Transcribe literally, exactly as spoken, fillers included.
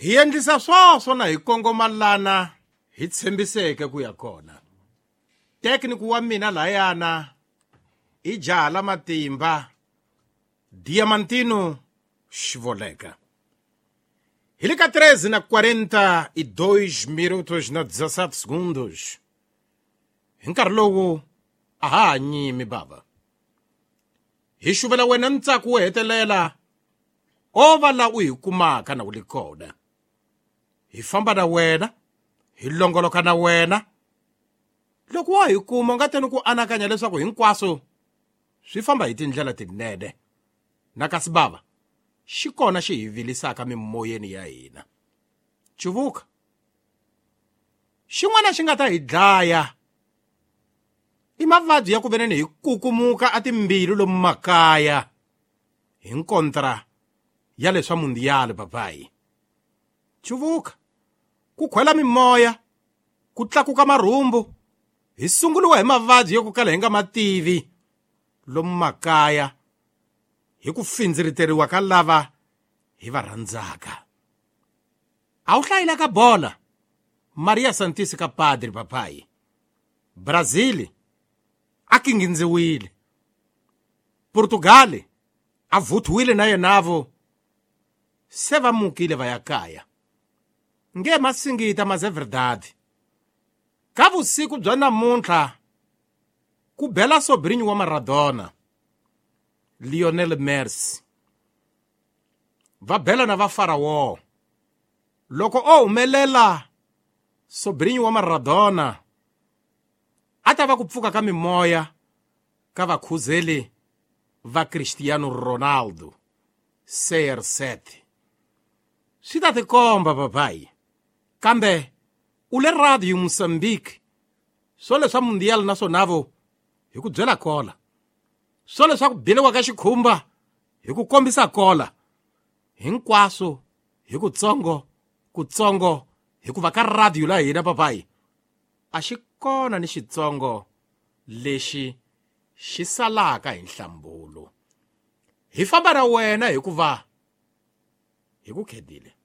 Hi endlisa swoswo na hi kongoma lana hi tshembiseke ku ya kona. Tekniku wa mina layana i jaha la matimba Diamantino Xivoleka. Hi le ka treze na quarenta e dois minutos na dezessete segundos. Hi nkarhi lowu a ha ha nyimi bava. Hi xuvela wena ntsako wo hetelela o va la u hi kumaka na u li kona. Hi famba na wena, hi longoloka na wena. Loko wa hi kuma u nga teni ku anakanya leswaku hinkwaswo swi famba hi tindlela tinene. Na kasi bava, xi kona xi hi vilisaka mimoyeni ya hina. Cuvuka. Xin'wana xi nga ta hi dlaya i mavabyi ya ku veneni hi kukumuka a timbilu lomu makaya hi nkontra ya leswa mundiyali papayi. Cuvuka. Ku khwela mimoya, ku tlakuka marhumbu, hi sunguriwa hi mavabyi yo ku kala hi nga mativi lomu makaya hi ku findziriteriwa ka lava hi va rhandzaka. A wu hlayile ka bola Maria Santisi ka Padre papayi. Brazil a kingindziwile. Portugal a vuthiwile na yenavo se va mukile va ya kaya. Nge masingita mas é verdade. Ka vusiku bya namuntlha ku bela sobrinho wa Maradona Lionel Messi. Va bela na va Faraó. Loko o humelela sobrinho wa Maradona a ta va ku pfuka ka mimoya ka vakhuzeli va Cristiano Ronaldo C R seven. Swi ta tikomba papayi. Kambe u le Radio Mozambique swo leswa mundial na swonavo hi ku byela kola. Swo leswa ku beliwa ka xikhumba hi ku kombisa kola. Hinkwaswo hi kutsongo kutsongo hikuva ka radio la hina papayi a xi kona ni xitsongo lexi xi salaka hi nhlambulo. Hi famba na wena hikuva hi ku khedile.